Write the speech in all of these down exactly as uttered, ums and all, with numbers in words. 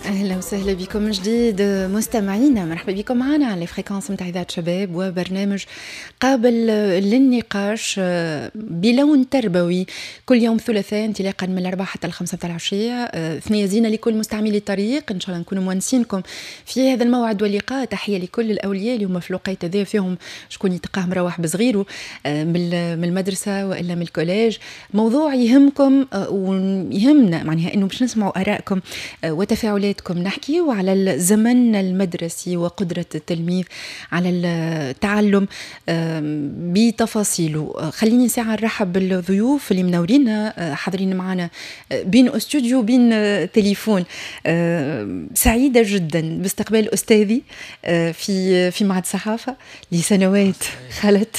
اهلا وسهلا بكم من جديد مستمعينا، مرحبا بكم معنا على fréquences نتاع اذاعة شباب وبرنامج قابل للنقاش بلون تربوي كل يوم ثلاثاء انطلاقا من الاربعة حتى الخمسة نتاع العشيه. ثنيه زينة لكل مستعملي الطريق، ان شاء الله نكونوا مونسينكم في هذا الموعد واللقاء. تحية لكل الاولياء اللي هما في الوقيته هذا فيهم شكون يتلقاه مروح بصغيره من المدرسة والا من ال collège. موضوع يهمكم ويهمنا، معناها انه باش نسمعوا ارائكم وتفاعلاتكم. نحكي على الزمن المدرسي وقدرة التلميذ على التعلم بتفاصيله. خليني ساعة نرحب بالضيوف اللي منورينا حاضرين معنا بين استوديو بين تليفون. سعيدة جدا باستقبال أستاذي في في معهد الصحافة لسنوات خلت،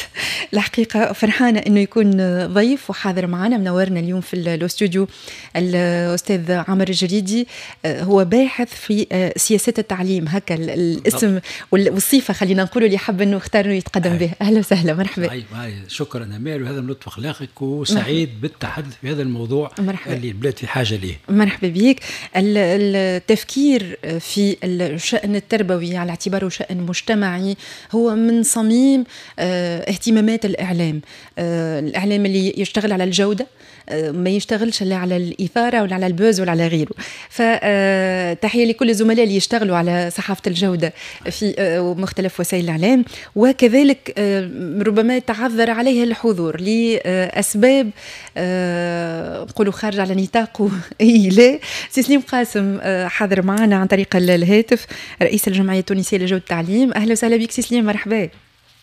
الحقيقة فرحانة أنه يكون ضيف وحاضر معنا منورنا اليوم في الاستوديو الأستاذ عامر الجريدي، هو باحث في سياسات التعليم، هكا الاسم والصفة خلينا نقولوا اللي حب انه اختار انه يتقدم به. اهلا وسهلا، مرحبا. شكرا امال، وهذا من لطف اخلاقك، وسعيد بالتحدث في هذا الموضوع. مرحبا. اللي البلاد في حاجة ليه. مرحبا بك. التفكير في الشأن التربوي على اعتباره شأن مجتمعي هو من صميم اهتمامات الاعلام، الاعلام اللي يشتغل على الجودة، ما يشتغلش لا على الإثارة ولا على ال buzz ولا على غيره. فتحية لكل الزملاء اللي يشتغلوا على صحافة الجودة في مختلف وسائل الإعلام، وكذلك ربما تعذر عليه الحضور لأسباب نقولوا خارج على نطاقه. إي لا، سي سليم قاسم حاضر معنا عن طريق الهاتف، رئيس الجمعية التونسية لجودة التعليم. أهلا وسهلا بك سي سليم، مرحبا.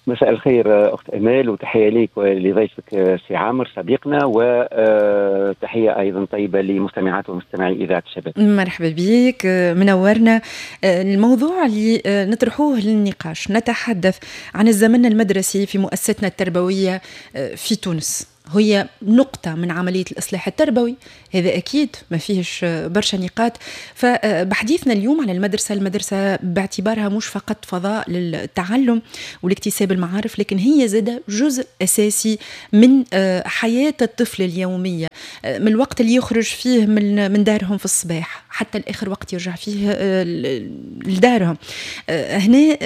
مساء الخير أخت أمال، وتحية ليك ولضيفك سي عامر صديقنا، وتحية أيضا طيبة لمستمعات ومستمعي إذاعة الشباب. مرحبا بك، منورنا. الموضوع اللي نطرحوه للنقاش، نتحدث عن الزمن المدرسي في مؤسستنا التربوية في تونس، هي نقطة من عملية الإصلاح التربوي، هذا أكيد ما فيهش برشا نقاط. فبحديثنا اليوم على المدرسة، المدرسة باعتبارها مش فقط فضاء للتعلم والاكتساب المعارف، لكن هي زادة جزء أساسي من حياة الطفل اليومية، من الوقت اللي يخرج فيه من من دارهم في الصباح حتى الآخر وقت يرجع فيه لدارهم. هنا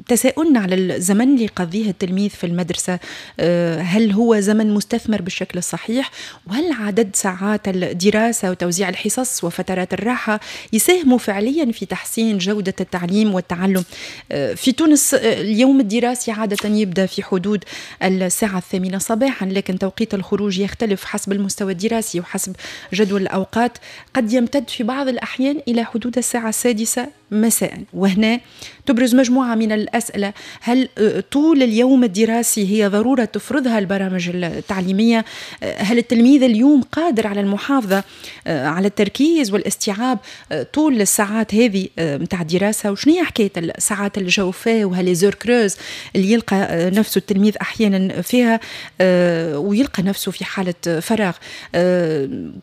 تساؤلنا على الزمن اللي يقضيه التلميذ في المدرسة، هل هو زمن مستثمر بالشكل الصحيح؟ وهل عدد ساعات الدراسة وتوزيع الحصص وفترات الراحة يساهموا فعليا في تحسين جودة التعليم والتعلم في تونس؟ اليوم الدراسي عادة يبدأ في حدود الساعة الثامنة صباحا، لكن توقيت الخروج يختلف حسب المستوى الدراسي وحسب جدول الأوقات، قد يمتد في بعض الأحيان إلى حدود الساعة السادسة مساء. وهنا تبرز مجموعة من الأسئلة، هل طول اليوم الدراسي هي ضرورة تفرضها البرامج التعليمية؟ هل التلميذ اليوم قادر على المحافظة على التركيز والاستيعاب طول الساعات هذه متاع الدراسة؟ وشنو هي حكاية الساعات الجوفاء وها les heures creuses اللي يلقى نفسه التلميذ أحيانا فيها ويلقى نفسه في حالة فراغ؟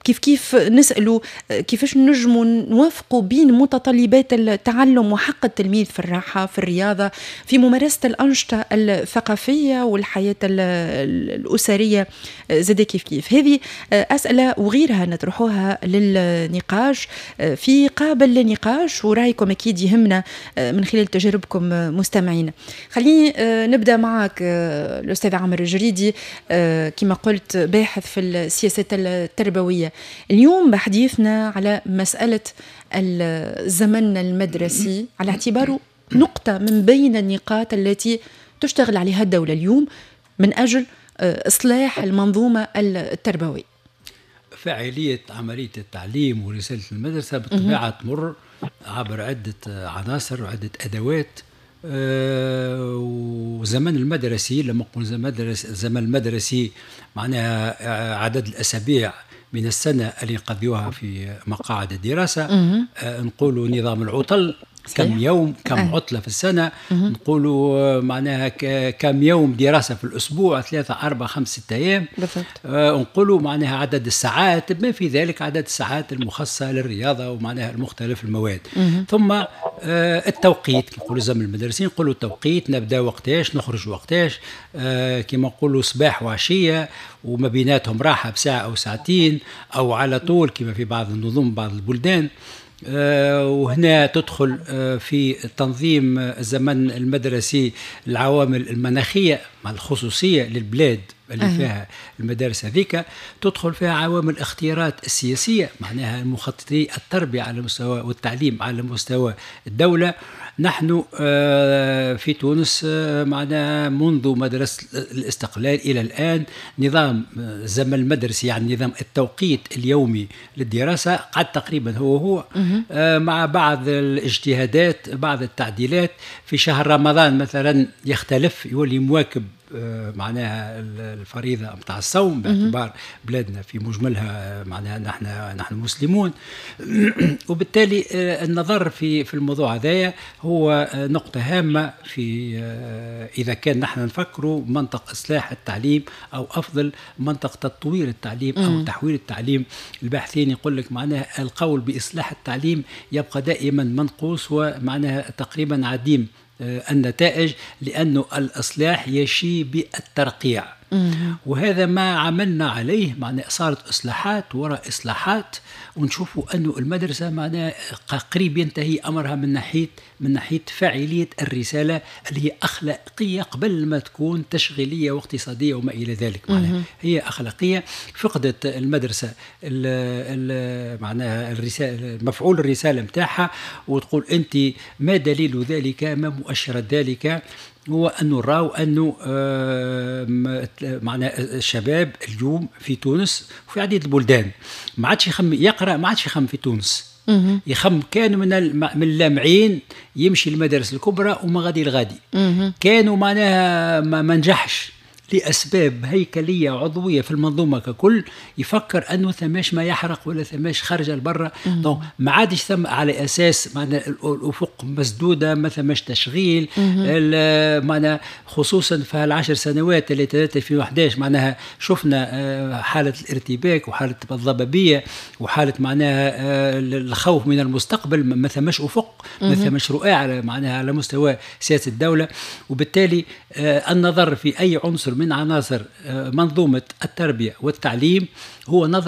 كيف كيف نسأله كيفاش نجموا نوافقوا بين متطلبات التعلم وحق التلميذ في الراحة، في الرياضة، في ممارسة الأنشطة الثقافية والحياة الأسرية زاد كيف كيف؟ هذه أسئلة وغيرها نطرحوها للنقاش في قابل للنقاش، ورأيكم أكيد يهمنا من خلال تجاربكم مستمعين. خليني نبدأ معك الأستاذ عامر الجريدي، كما قلت باحث في السياسات التربوية. اليوم بحديثنا على مسألة الزمن المدرسي على اعتباره نقطة من بين النقاط التي تشتغل عليها الدولة اليوم من أجل إصلاح المنظومة التربوية. فاعلية عملية التعليم ورسالة المدرسة بالطبيعة تمر عبر عدة عناصر وعدة أدوات. أه وزمن المدرسي، لما نقول زمن المدرسي معناها عدد الأسابيع من السنة اللي يقضيوها في مقاعد الدراسة. أه نقولوا نظام العطل، كم يوم، كم أه. عطلة في السنة. نقولوا معناها كم يوم دراسة في الأسبوع، ثلاثة أربعة خمسة ستة أيام. آه نقولوا معناها عدد الساعات، بما في ذلك عدد الساعات المخصصة للرياضة ومعناها المختلف المواد. مم. ثم آه التوقيت، نقولوا زمن المدرسين نقولوا التوقيت، نبدأ وقتاش نخرج وقتاش، آه كما نقولوا صباح وعشية وما بيناتهم راحة بساعة أو ساعتين أو على طول كما في بعض النظم بعض البلدان. وهنا تدخل في تنظيم الزمن المدرسي العوامل المناخية مع الخصوصية للبلاد اللي أه. فيها المدارس هذيك، تدخل فيها عوامل الاختيارات السياسية، معناها المخططي التربية على مستوى والتعليم على مستوى الدولة. نحن في تونس معناها منذ مدرسة الاستقلال إلى الآن نظام الزمن المدرسي، يعني نظام التوقيت اليومي للدراسة، قعد تقريبا هو هو مع بعض الاجتهادات، بعض التعديلات. في شهر رمضان مثلا يختلف، يولي مواكب معناها الفريضة متاع الصوم، باعتبار بلادنا في مجملها معناها نحن نحن مسلمون. وبالتالي النظر في في الموضوع هذايا هو نقطة هامة في إذا كان نحن نفكروا منطق إصلاح التعليم أو أفضل منطق تطوير التعليم أو تحويل التعليم. الباحثين يقول لك معناها القول بإصلاح التعليم يبقى دائما منقوص ومعناها تقريبا عديم النتائج، لأنه الإصلاح يشي بالترقيع. وهذا ما عملنا عليه، معناه صارت إصلاحات وراء إصلاحات، ونشوفوا أنه المدرسة معناه قريب ينتهي أمرها من ناحية من ناحية فاعلية الرسالة اللي هي أخلاقية قبل ما تكون تشغيلية واقتصادية وما إلى ذلك. معناها هي أخلاقية. فقدت المدرسة معناها الرسالة، مفعول الرسالة متاعها. وتقول أنت ما دليل ذلك، ما مؤشرات ذلك؟ هو أنه نراو أنه معناها الشباب اليوم في تونس وفي عديد البلدان ما عادش يخم يقرأ، ما عادش يخم في تونس، يخم كان من من اللامعين يمشي المدارس الكبرى وما غادي الغادي. كانوا معناها ما نجحش لأسباب هيكلية عضوية في المنظومة ككل، يفكر أنه ثماش ما يحرق ولا ثماش خارج لبرا. donc ما عادش ثم على أساس معنا الأفق مسدودة، ما ثماش تشغيل، معنا خصوصا في العشر سنوات اللي ألفين وأحد عشر معناها شفنا حالة الارتباك وحالة الضبابية وحالة معناها الخوف من المستقبل، ما ثماش أفق، ما ثماش رؤى على معناها على مستوى سياسة الدولة. وبالتالي النظر في أي عنصر من عناصر منظومة التربية والتعليم هو نظر